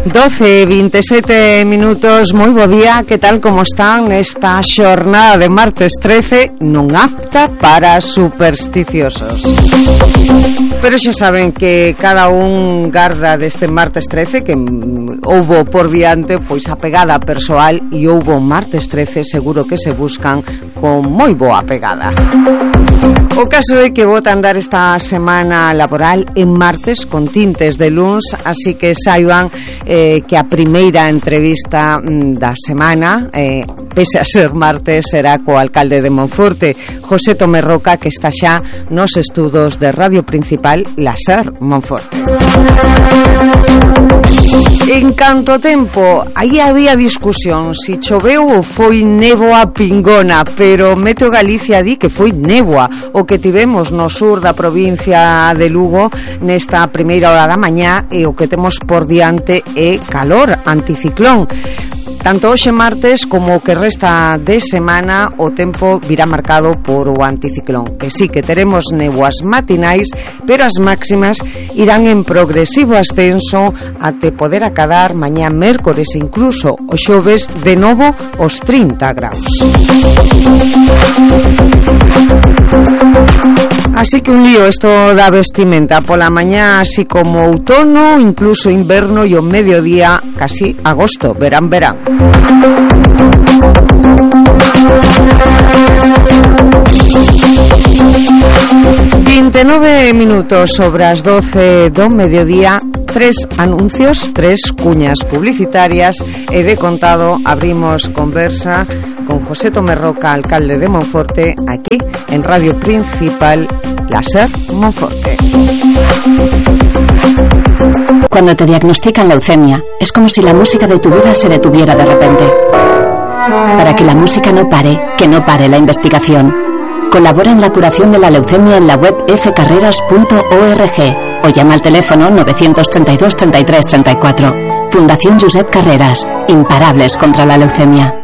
12:27 minutos, moi bo día, que tal como están esta xornada de martes 13, non apta para supersticiosos. Pero xa saben que cada un garda deste martes 13 que houbo por diante pois a pegada persoal, e houbo martes 13 seguro que se buscan con moi boa pegada. O caso é que vota andar esta semana laboral en martes con tintes de luns, así que saiban que a primeira entrevista da semana, pese a ser martes, será co alcalde de Monforte, José Tomé Roca, que está xa nos estudos de Radio Principal, La SER Monforte. En canto tempo, aí había discusión si choveu ou foi néboa pingona, pero Meteo Galicia di que foi néboa o que tivemos no sur da provincia de Lugo nesta primeira hora da mañá, e o que temos por diante é calor anticiclón. Tanto hoxe martes como o que resta de semana o tempo virá marcado por o anticiclón, que sí que teremos néboas matinais, pero as máximas irán en progresivo ascenso até poder acadar mañá mércores e incluso o xoves de novo os 30 graus. Así que un lío esto da vestimenta pola mañá, así como outono, incluso inverno, e o mediodía casi agosto, verán. 29 minutos sobre as 12 do mediodía. 3 anuncios, 3 cuñas publicitarias, e de contado abrimos conversa con José Tomé Roca, alcalde de Monforte, aquí en Radio Principal, La SER Monforte. Cuando te diagnostican leucemia, es como si la música de tu vida se detuviera de repente. Para que la música no pare, que no pare la investigación. Colabora en la curación de la leucemia en la web fcarreras.org o llama al teléfono 932 33 34. Fundación Josep Carreras, imparables contra la leucemia.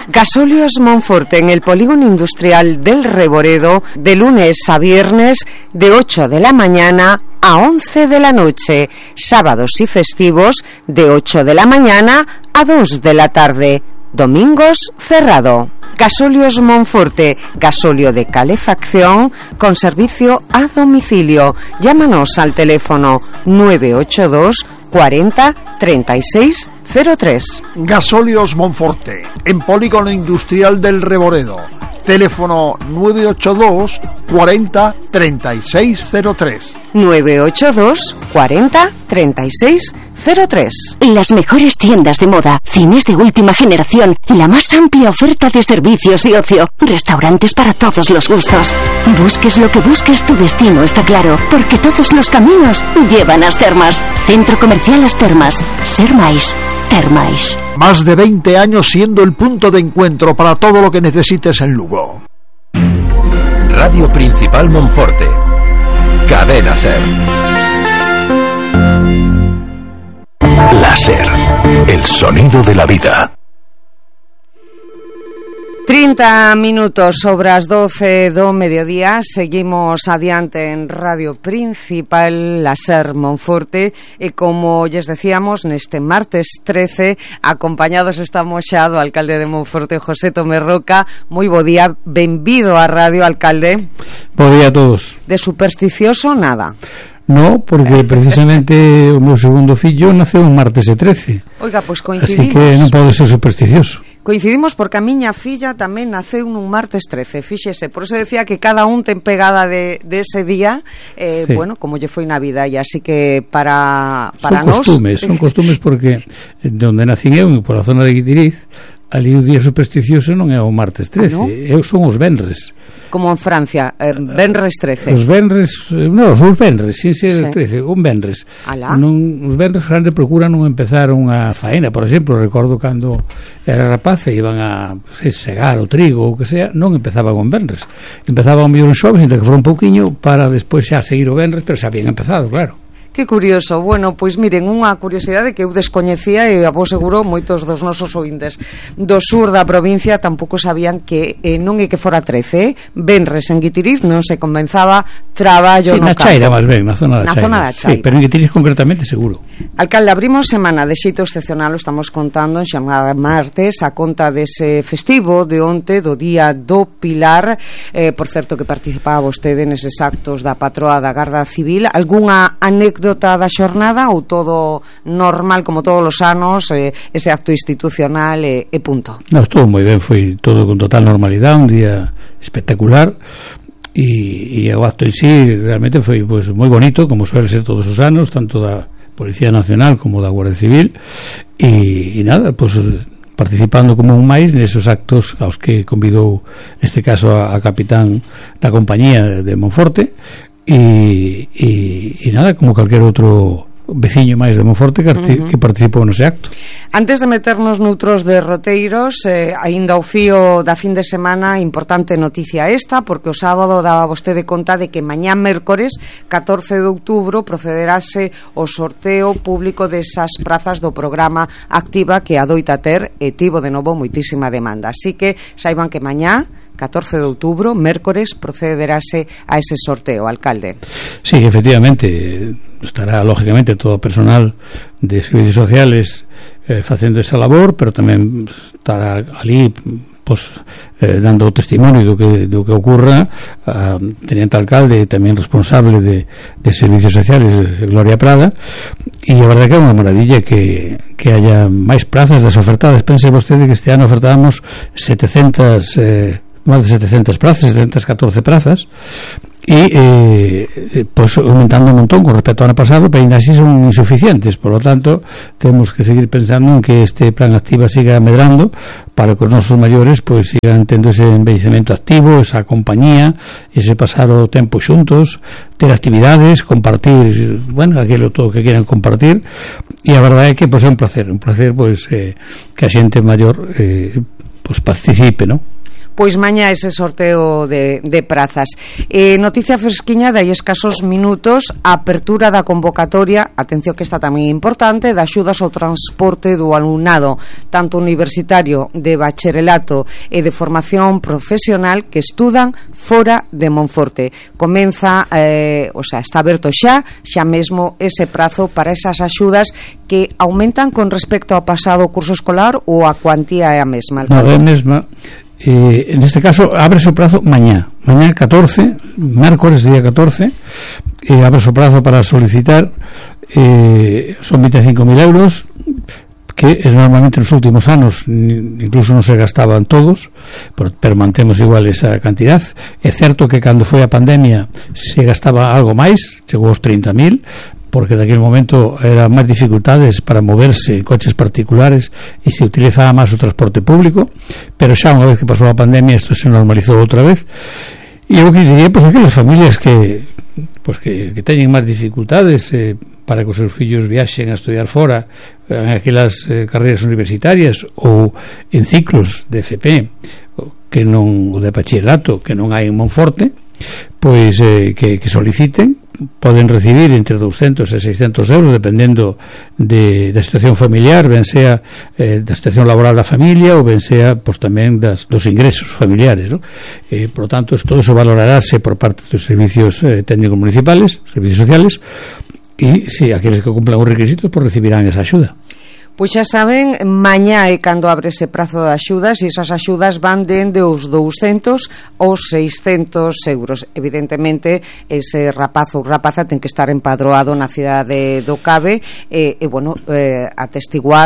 Gasóleos Monforte, en el polígono industrial del Reboredo, de lunes a viernes, de 8 de la mañana a 11 de la noche, sábados y festivos, de 8 de la mañana a 2 de la tarde, domingos cerrado. Gasóleos Monforte, gasóleo de calefacción con servicio a domicilio. Llámanos al teléfono 982 40 36 03. Gasóleos Monforte, en polígono industrial del Reboredo. Teléfono 982 40 36 03. 982 40 36 03. Las mejores tiendas de moda, cines de última generación, la más amplia oferta de servicios y ocio, restaurantes para todos los gustos. Busques lo que busques, tu destino está claro, porque todos los caminos llevan a As Termas. Centro Comercial As Termas. Ser máis, ter máis. Más de 20 años siendo el punto de encuentro para todo lo que necesites en Lugo. Radio Principal Monforte. Cadena SER. La SER, el sonido de la vida. 30 minutos sobre as 12 do mediodía. Seguimos adiante en Radio Principal, La SER Monforte, e como lles decíamos, neste martes 13 acompañados estamos xa do alcalde de Monforte, José Tomé Roca. Moi bo día, benvido á radio, alcalde. Bo día a todos. De supersticioso nada. No, porque precisamente o meu segundo fillo naceu un martes 13. Oiga, pois coincidimos. Así que non pode ser supersticioso. Coincidimos porque a miña filla tamén naceu nun martes 13, fíxese, por eso decía que cada un ten pegada de ese día, sí. Bueno, como lle foi na vida, e así que para nós... Son costumes porque onde nacín eu, por a zona de Guitiriz, ali o día supersticioso non é o martes 13, ¿no? Eu son os venres. Como en Francia, venres 13. Os venres, non, os venres, sin ser 13, un venres. Non, os venres grande procuran non empezar unha faena, por exemplo, recordo cando era rapaz e iban a segar o trigo ou que sea, non empezaban con venres. Empezaban mellor en xoves, ainda que fora un pouquiño, para despois xa seguir o venres, pero xa habían empezado, claro. Que curioso. Bueno, pois miren, unha curiosidade que eu descoñecía e a vos seguro moitos dos nosos ointes do sur da provincia tampouco sabían que non é que fora 13, venres en Guitiriz non se comenzaba traballo no campo. Na Chaira, máis ben, na zona da Chaira. Sí, pero en Guitiriz concretamente seguro. Alcalde, abrimos semana de xeito excepcional, o estamos contando en xornada martes a conta dese festivo de onte, do Día do Pilar. Por certo que participaba vostede neses actos da patroa da Garda Civil. Algunha anécdota da xornada ou todo normal como todos os anos, ese acto institucional e punto? Non, estuvo moi ben, foi todo con total normalidade, un día espectacular e o acto en sí realmente foi pues, moi bonito, como suele ser todos os anos, tanto da Policía Nacional como da Guardia Civil e nada, pues participando como un máis nesos actos aos que convidou neste caso a capitán da compañía de Monforte e nada, como calquer outro veciño máis de Monforte que participou nese acto. Antes de meternos noutros derroteiros, aínda ao fío da fin de semana, importante noticia esta, porque o sábado daba vostede conta de que mañá mércores 14 de outubro procederase o sorteo público desas prazas do programa Activa que adoita ter e tivo de novo moitísima demanda. Así que saiban que mañá 14 de outubro, mércores, procederase a ese sorteo, alcalde. Sí, efectivamente, estará lógicamente todo o personal de servicios sociales facendo esa labor, pero tamén estará ali pues, dando testimonio do que ocurra a teniente alcalde e tamén responsable de servicios sociales, Gloria Prada, e a verdade que é unha maravilla que haya máis plazas das ofertadas. Pense vostede que este ano ofertábamos 700 máis de 700 plazas, 714 plazas e pues aumentando un montón con respecto ao ano pasado, pero ainda así son insuficientes, por lo tanto temos que seguir pensando en que este plan Activa siga medrando para que os nosos maiores pues sigan tendo ese envellecemento activo, esa compañía, ese pasar o tempo xuntos, ter actividades, compartir, bueno, aquilo todo que quieran compartir, e a verdade é que pues é un placer pues que a xente maior pues participe, ¿no? Pois mañá ese sorteo de prazas. Noticia fresquiña de aí escasos minutos, a apertura da convocatoria, atención que está tamén importante, de axudas ao transporte do alumnado, tanto universitario, de bacharelato e de formación profesional que estudan fora de Monforte. Comeza, está aberto xa mesmo ese prazo para esas axudas que aumentan con respecto ao pasado curso escolar ou a cuantía é a mesma? Non, é a mesma. En este caso abre o prazo mañá 14, mércores día 14 abre o prazo para solicitar, son 25.000 euros que normalmente nos últimos anos incluso non se gastaban todos, pero mantemos igual esa cantidad. É certo que cando foi a pandemia se gastaba algo máis, chegou aos 30.000, porque daquele momento eran máis dificultades para moverse en coches particulares e se utilizaba máis o transporte público, pero xa unha vez que pasou a pandemia isto se normalizou outra vez. E eu que diría, pues aquelas familias que teñen máis dificultades para que os seus fillos viaxen a estudiar fora en aquelas carreiras universitarias ou en ciclos de FP que non, ou de bachillerato que non hai en Monforte, pois que soliciten, poden recibir entre 200 e 600 euros dependendo da situación familiar, ben sea da situación laboral da familia ou ben sea pues, tamén dos ingresos familiares, ¿no? Por lo tanto todo eso valorarase por parte dos servicios técnicos municipales, servicios sociales, e si aqueles que cumplan os requisitos pues recibirán esa axuda. Pois xa saben, mañá é cando abre ese prazo de axudas e esas axudas van dende os 200 aos 600 euros. Evidentemente, ese rapaz ou rapaza ten que estar empadroado na cidade do Cabe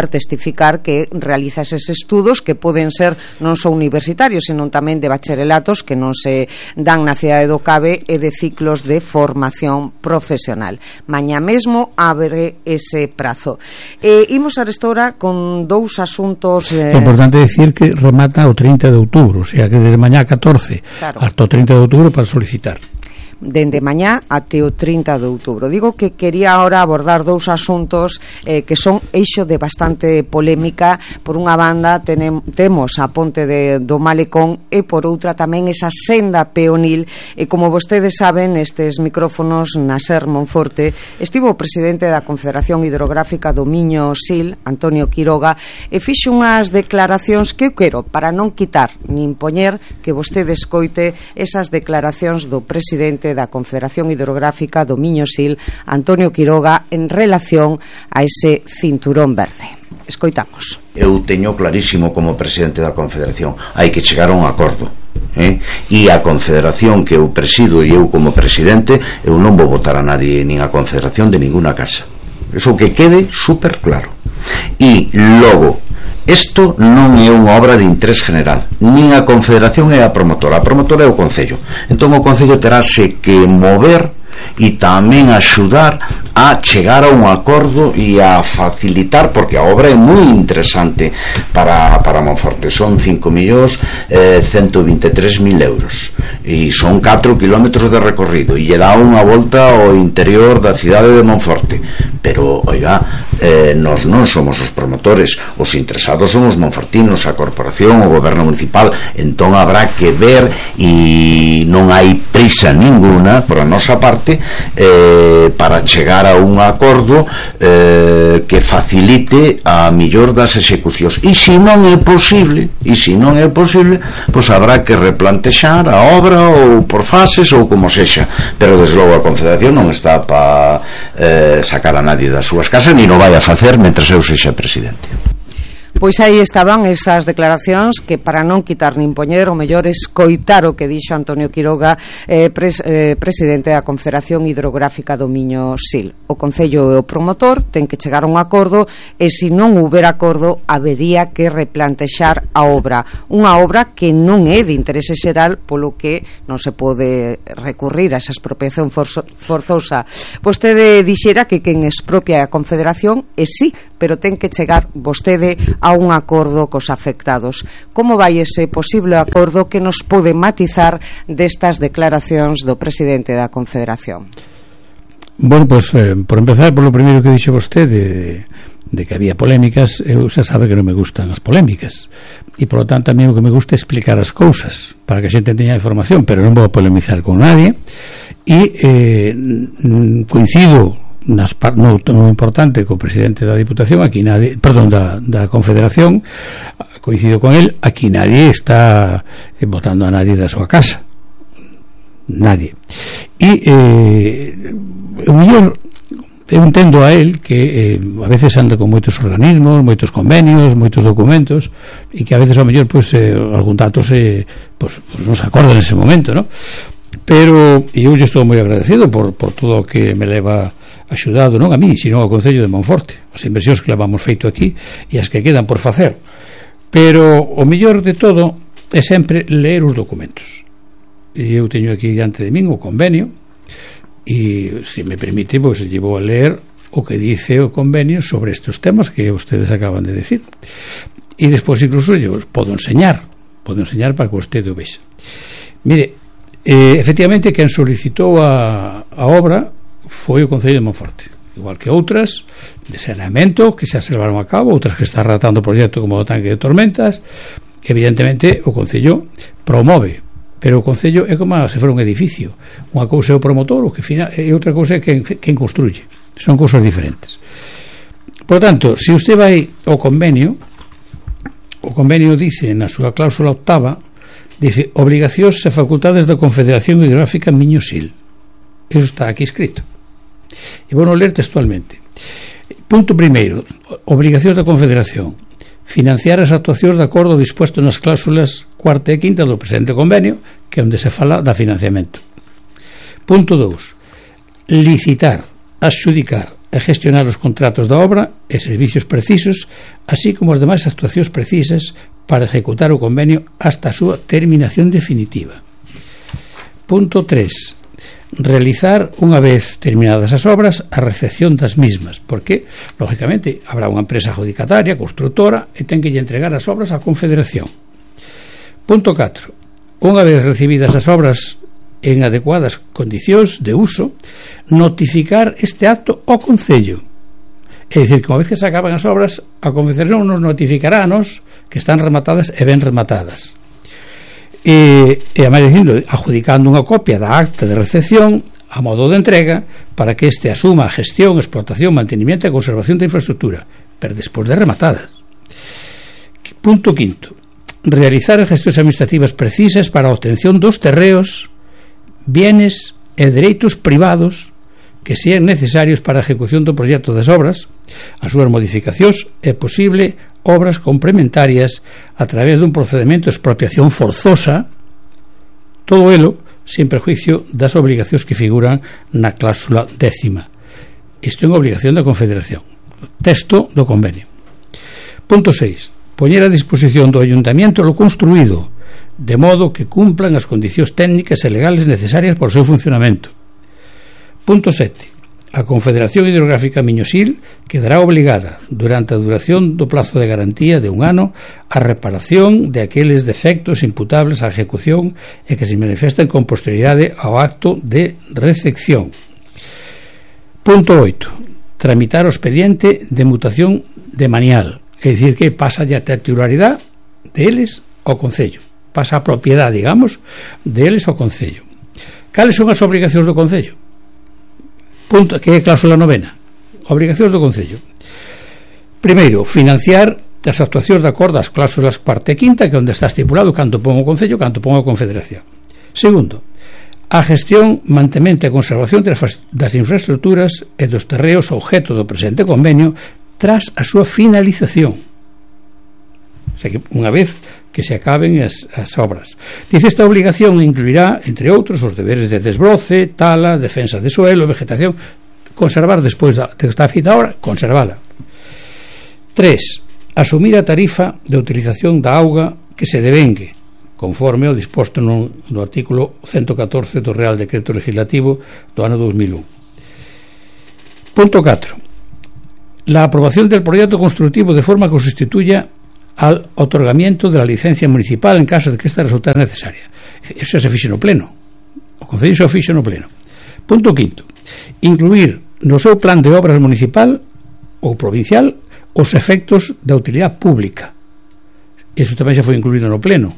testificar que realiza eses estudos que poden ser non só universitarios, senón tamén de bacharelatos que non se dan na cidade do Cabe e de ciclos de formación profesional. Mañá mesmo abre ese prazo. Imos a ahora con dous asuntos. É importante decir que remata o 30 de outubro, o sea que desde mañá 14 claro, hasta o 30 de outubro para solicitar. dende mañá até o 30 de outubro. Digo que quería ahora abordar dous asuntos que son eixo de bastante polémica. Por unha banda temos a ponte do Malecón e por outra tamén esa senda peonil, e como vostedes saben, nestes micrófonos na SER Monforte estivo o presidente da Confederación Hidrográfica do Miño Sil, Antonio Quiroga, e fixo unhas declaracións que eu quero, para non quitar nin poñer, que vostede escoite esas declaracións do presidente da Confederación Hidrográfica do Miño Sil, Antonio Quiroga, en relación a ese cinturón verde. Escoitamos. Eu teño clarísimo como presidente da Confederación, hai que chegar a un acordo, e a Confederación que eu presido e eu como presidente, eu non vou votar a nadie nin a Confederación de ninguna casa. Eso que quede super claro. E logo, isto non é unha obra de interés general, nin a Confederación é a promotora é o Concello. Entón o Concello terase que mover e tamén axudar a chegar a un acordo e a facilitar, porque a obra é moi interesante para Monforte. Son 5.123.000 euros e son 4 kilómetros de recorrido e lle dá unha volta ao interior da cidade de Monforte. Pero, oiga, nós non somos os promotores, os interesados son os monfortinos, a corporación, o goberno municipal. Entón habrá que ver, e non hai prisa ninguna por a nosa parte para chegar a un acordo que facilite a millor das execucións. E se non é posible, pois habrá que replantexar a obra ou por fases ou como sexa. Pero desde logo a Confederación non está para sacar a nadie das súas casas, ni non vai a facer mentre eu sexa presidente. Pois aí estaban esas declaracións que, para non quitar nin poñer, o mellor escoitar o que dixo Antonio Quiroga, presidente da Confederación Hidrográfica do Miño Sil. O Concello e o promotor ten que chegar a un acordo, e se non houber acordo habería que replantexar a obra, unha obra que non é de interese xeral, polo que non se pode recurrir a esa expropiación forzosa. Vostede dixera que quen expropia a Confederación é sí, pero ten que chegar vostede a un acordo cos afectados. Como vai ese posible acordo que nos pode matizar destas declaracións do presidente da Confederación? Bueno, pues por empezar por lo primeiro que dixo vostede de que había polémicas, eu xa sabe que non me gustan as polémicas, e por lo tanto a mí o que me gusta é explicar as cousas para que a xente teña información, pero non vou polemizar con nadie. E coincido no importante co presidente da Diputación, aquí nadie, perdón, da Confederación, coincido con él, aquí nadie está votando a nadie da súa casa, nadie. E o mellor eu entendo a él que a veces anda con moitos organismos, moitos convenios, moitos documentos, e que a veces ao mellor algún dato pues non se acorda nese momento, ¿no? Pero eu estou moi agradecido por todo o que me leva axudado, non a mí, sino ao Concello de Monforte, as inversións que levamos feito aquí e as que quedan por facer. Pero o mellor de todo é sempre ler os documentos. E eu teño aquí diante de min o convenio, e se me permite, pois llevo a ler o que dice o convenio sobre estes temas que ustedes acaban de decir. E despois incluso eu podo enseñar para que vostede o vexa. Mire, efectivamente quen solicitou a obra foi o Concello de Monforte, igual que outras de saneamento que xa se levaron a cabo, outras que está relatando o proxecto como o tanque de tormentas. Evidentemente o Concello promove, pero o Concello é como se fora un edificio. Unha cousa é o promotor, o que e outra cousa é quen construye. Son cousas diferentes. Por tanto, se usted vai ao convenio, o convenio dice na súa cláusula octava, dice obrigacións e facultades da Confederación Hidrográfica Miño Sil. Eso está aquí escrito. E vou ler textualmente. Punto primeiro, obrigacións da Confederación: financiar as actuacións de acordo dispuesto nas cláusulas cuarta e quinta do presente convenio, que é onde se fala da financiamento. Punto 2, licitar, adxudicar e gestionar os contratos da obra e servicios precisos, así como as demais actuacións precisas para ejecutar o convenio hasta a súa terminación definitiva. Punto 3, realizar, unha vez terminadas as obras, a recepción das mismas, porque, lógicamente, habrá unha empresa adjudicataria, constructora, e ten que lle entregar as obras á Confederación. Punto 4, unha vez recibidas as obras en adecuadas condicións de uso, notificar este acto ao Concello. É dicir, que unha vez que se acaban as obras, a Confederación nos notificará a nos que están rematadas e ben rematadas. E a máis dicindo, adjudicando unha copia da acta de recepción a modo de entrega para que este asuma a gestión, explotación, mantenimiento e conservación da infraestructura, pero despois de rematada. Punto quinto. Realizar as gestións administrativas precisas para a obtención dos terreos, bienes e dereitos privados que sean necesarios para a ejecución do proxecto das obras, as súas modificacións e posible obras complementarias a través dun procedimento de expropiación forzosa, todo elo sin perjuicio das obligacións que figuran na cláusula 10ª. Isto é unha obligación da Confederación. Texto do convenio. Punto 6. Poñer a disposición do Ayuntamiento lo construído, de modo que cumplan as condicións técnicas e legales necesarias para o seu funcionamento. Punto 7. A Confederación Hidrográfica Miño-Sil quedará obligada, durante a duración do plazo de garantía de un ano, a reparación de aqueles defectos imputables á ejecución e que se manifesten con posterioridade ao acto de recepción. Punto 8. Tramitar o expediente de mutación de manial, é dicir, que pasa ya a titularidade deles ao Concello, pasa a propiedade, digamos, deles ao Concello. Cales son as obrigacións do Concello? Punto, que é a cláusula 9ª. Obrigacións do Concello. Primeiro, financiar as actuacións de acordo ás cláusulas cuarta e quinta, que é onde está estipulado canto pon o Concello, canto pon a Confederación. Segundo, a gestión, mantemento e conservación das infraestructuras e dos terreos objeto do presente convenio tras a súa finalización. O sea, que unha vez que se acaben as obras. Dice, esta obligación incluirá, entre outros, os deberes de desbroce, tala, defensa de suelo, vegetación, conservar despois de que está feita a obra, conservala. 3. Asumir a tarifa de utilización da auga que se devengue, conforme ao disposto no artículo 114 do Real Decreto Legislativo do ano 2001. Punto 4. La aprobación del proyecto constructivo de forma que sustituya al otorgamiento de la licencia municipal en caso de que esta resultara necesaria. Eso se fixe no pleno. O Concello se fixe no pleno. Punto 5. Incluir no seu plan de obras municipal ou provincial os efectos da utilidade pública. Eso tamén xa foi incluído no pleno.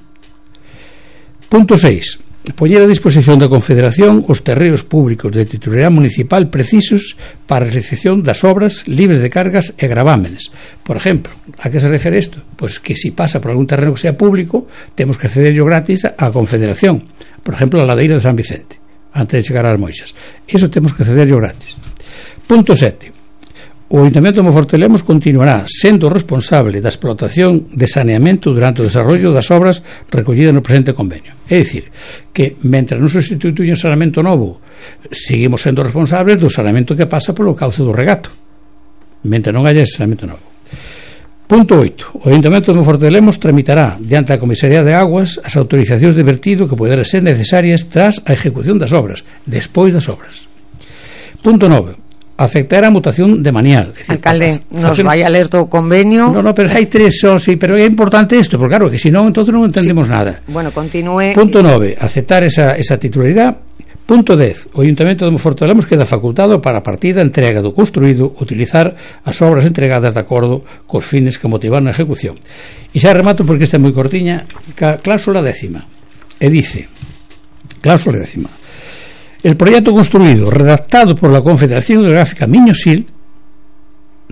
Punto 6. Poñer a disposición da Confederación os terreos públicos de titularidade municipal precisos para a realización das obras libres de cargas e gravámenes. Por exemplo, a que se refere isto? Pois que se pasa por algún terreno que sea público, temos que accederlo gratis á Confederación. Por exemplo, a ladeira de San Vicente, antes de chegar ás Moixas. Iso temos que accederlo gratis. Punto 7. O Ayuntamiento de Monfortelemos continuará sendo responsable da explotación de saneamento durante o desarrollo das obras recollidas no presente convenio. É dicir, que mentre non sustituye un saneamento novo, seguimos sendo responsables do saneamento que pasa polo cauce do regato, mentre non haya saneamento novo. Punto 8. O Ayuntamiento de Monfortelemos tramitará diante a Comisaría de Aguas as autorizacións de vertido que poderán ser necesarias tras a ejecución das obras, despois das obras. Punto 9. Aceptar a mutación de manial. Decir, alcalde, nos vai a ler todo o convenio. No, pero hai tres, sí, pero é importante isto, porque claro, que se non, entonces non entendemos nada. Bueno, continúe. Punto 9, aceptar esa titularidade. Punto 10, o Ayuntamiento de Monfortelemos queda facultado para a partida entrega do construído utilizar as obras entregadas de acordo cos fines que motivaron a ejecución. E xa remato porque esta é moi cortiña, cláusula 10ª. E dice, cláusula 10ª. El proyecto construido, redactado por la Confederación Hidrográfica Miño-Sil,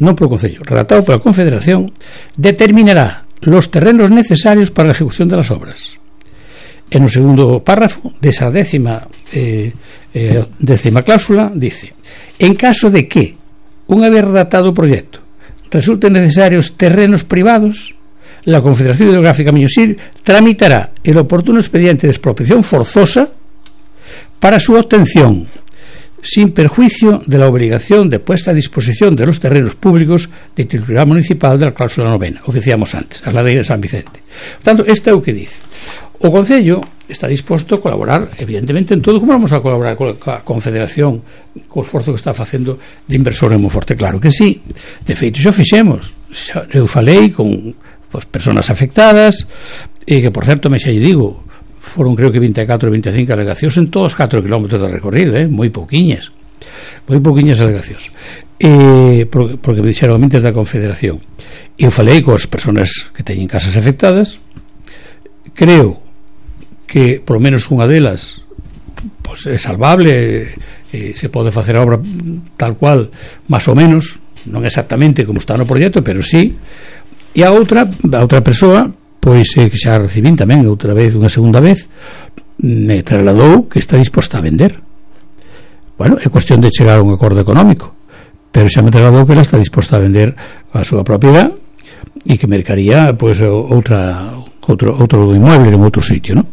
non polo Concello, redactado por la Confederación, determinará los terrenos necesarios para la ejecución de las obras. En el segundo párrafo de esa décima cláusula dice: en caso de que, una vez redactado el proyecto, resulten necesarios terrenos privados, la Confederación Hidrográfica Miño-Sil tramitará el oportuno expediente de expropiación forzosa para su obtención, sin perjuicio de la obligación de puesta a disposición de los terrenos públicos de titularidad municipal de la cláusula 9ª, o que decíamos antes, a la ley de San Vicente. Por tanto, este é o que dice. O Concello está disposto a colaborar, evidentemente, en todo. Como vamos a colaborar con a Confederación, co esforzo que está facendo de inversor en Monforte? Claro que sí. De feito, xa fixemos. Eu falei con persoas afectadas, e que, por certo, me xa lle digo, foron creo que 24 ou 25 alegacións en todos os 4 kilómetros de recorrido, moi pouquiñas alegacións, porque me dixeron mentes da Confederación. E eu falei coas persoas que teñen casas afectadas. Creo que por lo menos unha delas pues, é salvable, se pode facer a obra tal cual, máis ou menos, non exactamente como está no proxecto, pero sí. E a outra persoa, pois que xa recibín tamén outra vez, unha segunda vez, me trasladou que está disposta a vender. Bueno, é cuestión de chegar a un acordo económico, pero xa me trasladou que ela está disposta a vender a súa propiedade e que mercaría pois outro inmueble en outro sitio, ¿no?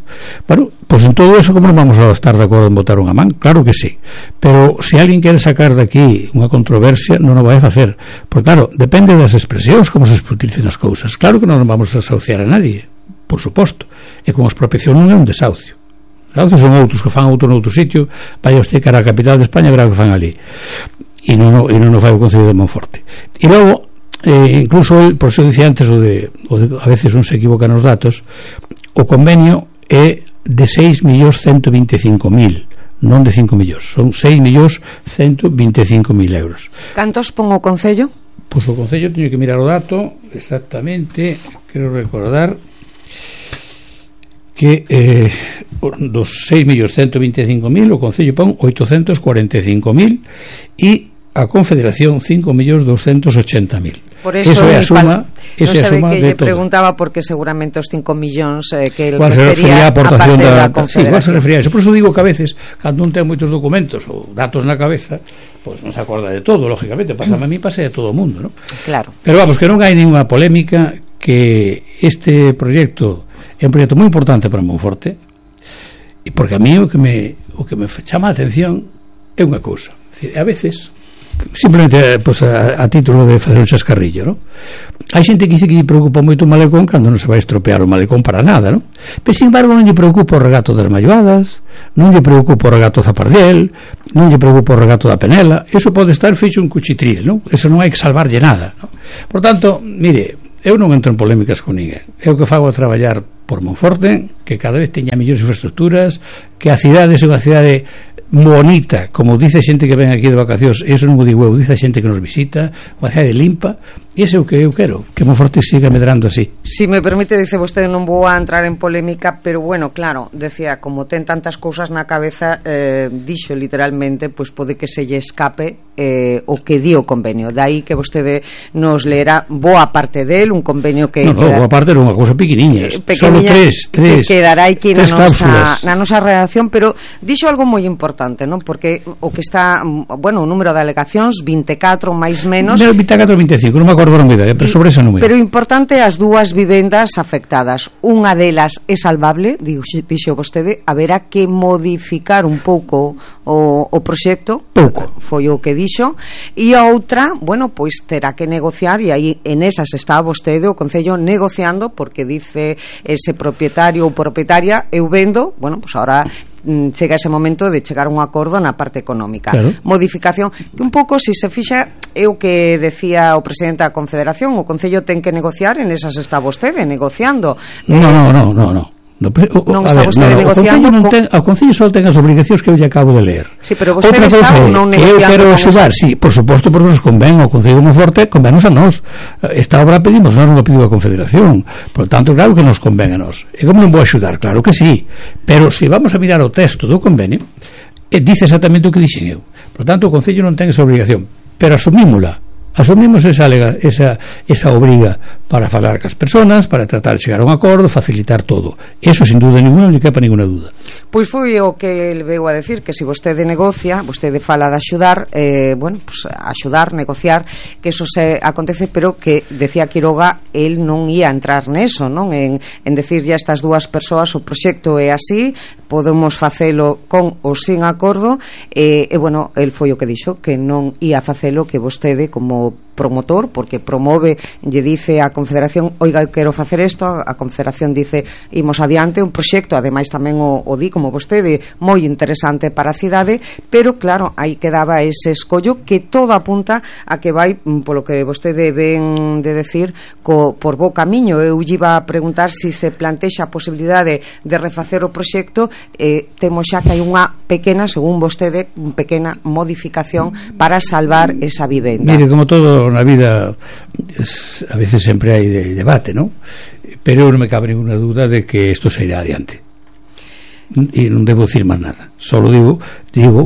Bueno, pues en todo eso, como non vamos a estar de acordo en botar unha man? Claro que sí, pero se alguén quere sacar de aquí unha controversia, non o vai a facer, porque claro, depende das expresións como se utilicen as cousas. Claro que non nos vamos a desahuciar a nadie, por suposto, e como expropiación non é un desahucio. Desahucios son outros que fan outro noutro sitio, vaya usted cara a capital de España, verá que fan ali, e non o fai o Concello de Monforte. E logo incluso, por eso dicía antes o de a veces un se equivoca nos datos, o convenio é de 6.125.000, non de 5 millóns, son 6.125.000 euros. Cantos pon o Concello? Pois o Concello teño que mirar o dato exactamente, quero recordar que dos 6.125.000 o Concello pon 845.000 e a Confederación 5.280.000. Por eso é a suma, non sabe que lle preguntaba porque seguramente os 5 millóns que el refería a parte da Confederación. Sí, igual se refería a eso. Por eso digo que a veces, cando un ten moitos documentos ou datos na cabeza, pues non se acorda de todo, lógicamente, pasa a mí, pasa a todo o mundo, ¿no? Claro. Pero vamos, que non hai ninguna polémica, que este proxecto é un proxecto moi importante para Monforte, e porque a mí o que me chama a atención é unha cousa. A veces simplemente pues, a título de facer un chascarrillo, ¿no? Hai xente que dice que lle preocupa moito o malecón cando non se vai estropear o malecón para nada, ¿no? Pero sin embargo non lle preocupa o regato das Malloadas, non lle preocupa o regato Zapardiel, non lle preocupa o regato da Penela. Eso pode estar feito un cuchitril, ¿no? Eso non hai que salvarlle nada, ¿no? Por tanto, mire, eu non entro en polémicas con ninguén. Eu que fago a traballar por Monforte, que cada vez teña mellores infraestructuras, que a cidade é unha cidade bonita, como dice xente que ven aquí de vacacións, eso non o digo eu, dice xente que nos visita, unha cidade limpa, e ese é o que eu quero, que Monforte siga medrando así. Si me permite, dice vostede, non vou a entrar en polémica, pero bueno, claro, decía, como ten tantas cousas na cabeza, dixo literalmente, pois pode que se lle escape o que di o convenio, dai que vostede nos leera boa parte del, un convenio que boa parte era unha cousa pequeniña, solo tres que quedará aquí na nosa redacción, pero dixo algo moi importante, non? Porque o que está, bueno, o número de alegacións 24 máis menos, 24 ou 25, non me acordo non idea, pero sobre ese número. Pero importante as dúas vivendas afectadas, unha delas é salvable, dixo vostede, haberá que modificar un pouco o proxecto, pouco, foi o que dixo, e a outra, bueno, pois terá que negociar, e aí en esas está vostede, o Concello, negociando, porque dice ese propietario ou propietaria, eu vendo, bueno, pois ahora chega ese momento de chegar a un acordo na parte económica. Claro. Modificación, que un pouco, se se fixa, é o que decía o presidente da Confederación, o Concello ten que negociar, en esas está vostede negociando. Non, está vostede negociando. O Concello só ten as obrigacións que eu lle acabo de ler. Sí, pero vostede está ou non negociando? Eu quero axudar, sí, por suposto, porque nos convén o Concello de Monforte, convénos a nós. Esta obra pedimos, non o pediu a Confederación. Por tanto, claro que nos convén a nós. E como non vou axudar? Claro que sí. Pero se vamos a mirar o texto do convenio, dice exactamente o que dixen eu. Por tanto, o Concello non ten esa obrigación, pero asumímola. Asumimos esa obriga para falar cas persoas, para tratar de chegar a un acordo, facilitar todo. Eso sin duda ninguna, non quepa ninguna duda. Pois foi o que ele veu a decir, que se vostede negocia, vostede fala de axudar, bueno, pues axudar, negociar, que eso se acontece, pero que decía Quiroga, el non ia entrar neso, non? En decirlle a estas dúas persoas, o proxecto é así, podemos facelo con ou sin acordo, e bueno, el foi o que dixo, que non ia facelo, que vostede como promotor, porque promove, lle dice a Confederación, oiga, eu quero facer isto, a Confederación dice, imos adiante, un proxecto, ademais tamén o di como vostede, moi interesante para a cidade, pero claro, aí quedaba ese escollo que todo apunta a que vai, polo que vostede ven de decir, por bo camiño. Eu lle iba a preguntar se se plantexa a posibilidade de refacer o proxecto. Temos xa que hai unha pequena, según vostede, pequena modificación para salvar esa vivenda. Mire, como todo na vida, a veces sempre hai debate, non? Pero non me cabe ninguna duda de que isto se irá adiante, e non debo dicir máis nada, solo digo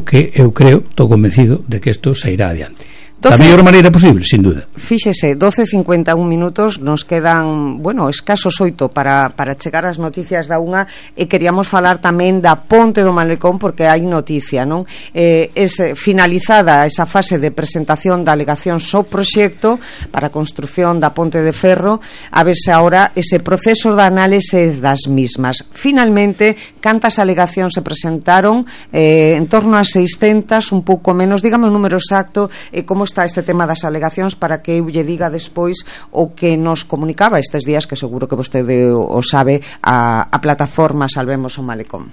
que eu creo, estou convencido de que isto se irá adiante da mellor maneira posible, sin duda. Fíxese, 12:51 minutos, nos quedan, bueno, escasos 8 para chegar ás noticias da unha, e queríamos falar tamén da Ponte do Malecón, porque hai noticia, non? Finalizada esa fase de presentación da alegación ao proxecto para a construción da Ponte de Ferro, a verse agora ese proceso de análise das mismas. Finalmente, cantas alegacións se presentaron? En torno a 600, un pouco menos, dígame o número exacto, e como está este tema das alegacións, para que eu lle diga despois o que nos comunicaba estes días, que seguro que vostede o sabe, a plataforma Salvemos o Malecón.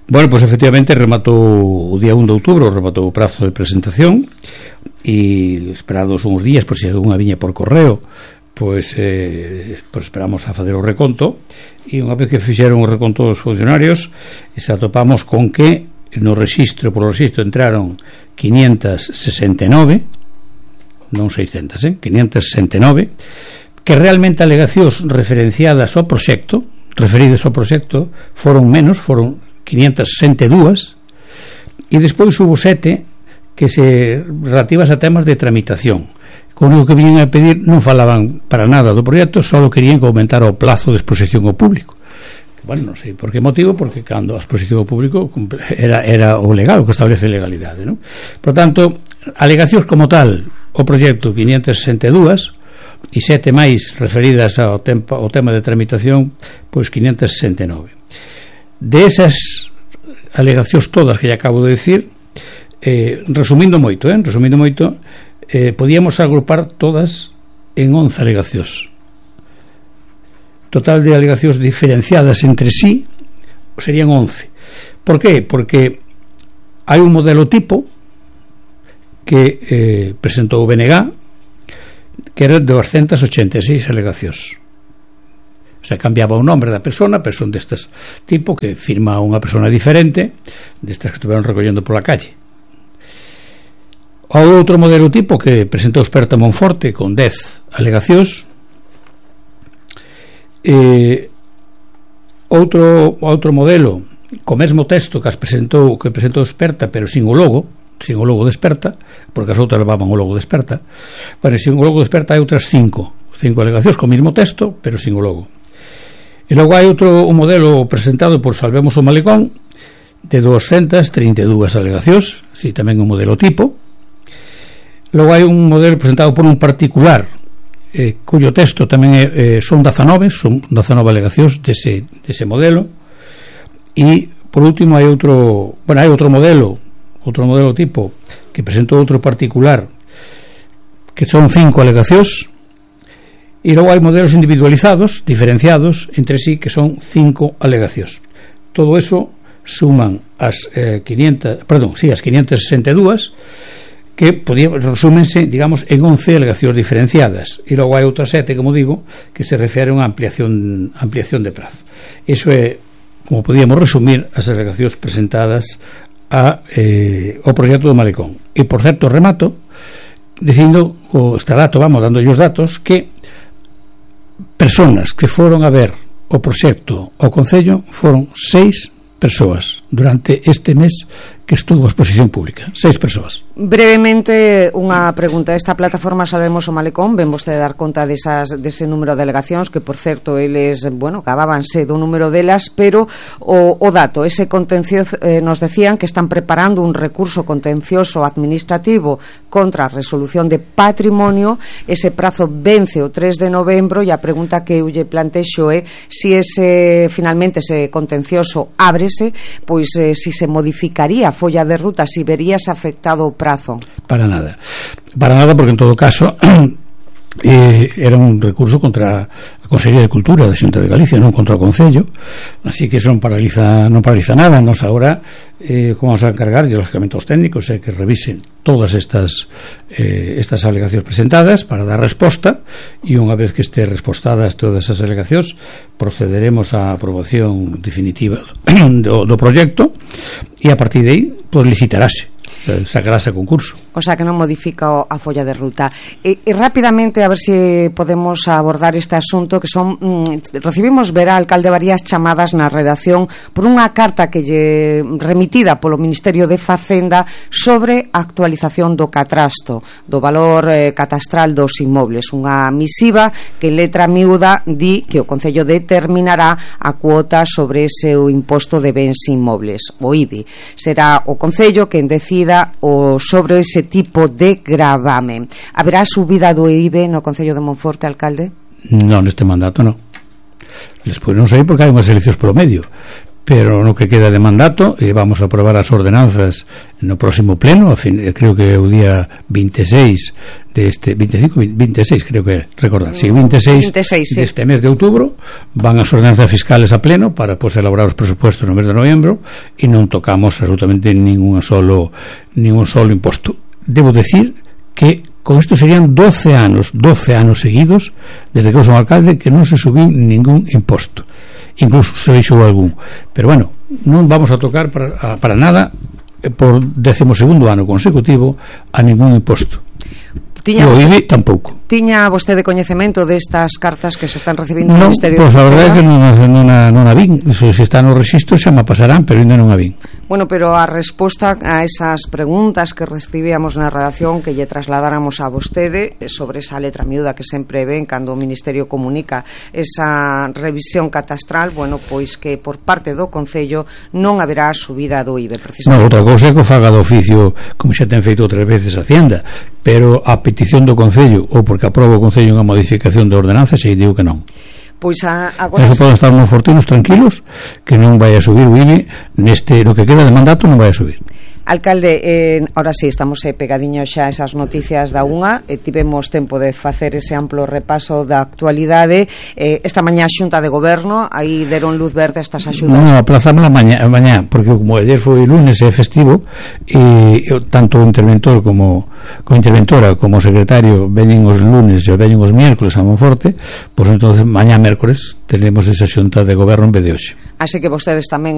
Bueno, pues efectivamente rematou o día 1 de outubro, rematou o prazo de presentación, e esperados uns días, por se unha viña por correo, pues esperamos a fazer o reconto, e unha vez que fixeron o reconto dos funcionarios, se atopamos con que no rexistro, por o rexistro entraron 569, non 600, 569, que realmente alegacións referenciadas ao proxecto, referidas ao proxecto, foron menos, foron 562, e despois hubo 7 que se relativas a temas de tramitación. Con o que viñen a pedir non falaban para nada do proxecto, só querían que aumentara o plazo de exposición ao público. Bueno, non sei por que motivo, porque cando a exposición ao público era o legal, o que establece legalidade, non? Por tanto, alegacións como tal, o proxecto 562, e 7 máis referidas ao tema de tramitación, pois 569. De esas alegacións todas que lle acabo de decir, resumindo moito, podíamos agrupar todas en 11 alegacións. Total de alegacións diferenciadas entre sí serían 11. Por qué? Porque hai un modelo tipo que presentou o BNG, que era 286 alegacións. O sea, cambiaba o nombre da persona, pero son destas tipo que firma unha persona diferente, destas que estuveron recollendo pola calle. O outro modelo tipo que presentou Experta Monforte con 10 alegacións. Outro modelo co mesmo texto que presentou Experta, pero sin o logo de Experta, porque as outras levaban o logo de Experta. Bueno, sin o logo de Experta hai outras 5 alegacións co mesmo texto, pero sin o logo. E logo hai outro modelo presentado por Salvemos o Malecón de 232 alegacións, si tamén un modelo tipo. Logo hai un modelo presentado por un particular, cuyo texto tamén son 19 alegacións dese modelo. E por último hai outro modelo tipo que presentou outro particular, que son 5 alegacións, e logo hai modelos individualizados, diferenciados entre sí, que son 5 alegacións. Todo eso suman as 562, que resúmense, digamos, en 11 alegacións diferenciadas, e logo hai outras 7, como digo, que se refiren a ampliación de prazo. Iso é, como podíamos resumir, as alegacións presentadas ao proxecto do Malecón. E, por certo, remato dicindo dando os datos, que personas que foron a ver o proxecto ao Concello foron 6 persoas durante este mes que estuvo a exposición pública. 6 persoas. Brevemente, unha pregunta. Esta plataforma Salvemos o Malecón, ven vostede dar conta dese número de delegacións, que por certo eles, acabábanse do número delas, pero o dato, ese contencioso, nos decían que están preparando un recurso contencioso administrativo contra a resolución de patrimonio. Ese prazo vence o 3 de novembro, e a pregunta que eu lle plantexo é se finalmente ese contencioso ábrese, pois pois si se modificaría a folla de ruta, si verías afectado o prazo. Para nada, porque en todo caso era un recurso contra a Consellería de Cultura da Xunta de Galicia, non contra o Concello, así que eso non paraliza nada. Nos agora como vamos a encargar de los lógicamente aos técnicos que revisen todas estas alegacións presentadas para dar resposta, e unha vez que este respostadas todas esas alegacións procederemos á aprobación definitiva do proxecto, e a partir de aí pois licitarase, sacarase a concurso. O sea que non modifica a folla de ruta. E rapidamente, a ver se podemos abordar este asunto, que son recibimos ver a alcalde varias chamadas na redacción por unha carta que lle remitida polo Ministerio de Facenda sobre a actualización do catastro, do valor catastral dos inmobles, unha misiva que en letra miúda di que o Concello determinará a cuota sobre ese imposto de bens inmobles, o IBI. Será o Concello quen decida o sobre ese tipo de gravamen. Haberá subida do IBI no Concello de Monforte, alcalde? Non, neste mandato non. Despois non sei porque hai unhas eleccións polo medio, pero no que queda de mandato vamos a aprobar as ordenanzas no próximo pleno, creo que é o día 26 deste 26 creo que recordar, sí, 26 sí. Deste mes de outubro van as ordenanzas fiscales a pleno para pois elaborar os presupuestos no mes de novembro, e non tocamos absolutamente ningún solo imposto. Debo decir que con isto serían 12 anos seguidos desde que eu son alcalde que non se subiu ningún imposto, incluso se deixou algún, pero bueno, non vamos a tocar para nada por 12º ano consecutivo a ningún imposto. E o IBI tampouco. Tiña vostede coñecemento destas cartas que se están recibindo no Ministerio de Cultura? Pois a verdade é que non a vin. Se está no rexistro xa me pasarán, pero ainda non a vin. Bueno, pero a resposta a esas preguntas que recibíamos na redacción, que lle trasladáramos a vostede sobre esa letra miúda que sempre ven cando o Ministerio comunica esa revisión catastral, bueno, pois que por parte do Concello non haberá subida do IBI, precisamente. Non, outra cousa é que o faga do oficio, como xa ten feito outras veces a Hacienda, pero a petición do Concello ou porque aproba o Concello unha modificación de ordenanza, se digo que non. Pois agora eso poden estar moi fortinos, tranquilos, que non vai a subir o IBI no que queda de mandato, non vai a subir. Alcalde, ahora sí, estamos pegadiños xa esas noticias da unha, tivemos tempo de facer ese amplo repaso da actualidade. Esta mañá Xunta de Goberno, aí deron luz verde a estas axudas. Non, aplazamos a mañá, porque como ayer foi lunes e festivo, e tanto o interventor como a interventora como o secretario veñen os lunes e veñen os miércoles a Monforte, pois entonces mañá mércores tenemos esa Xunta de Goberno en vez de hoxe. Así que vostedes tamén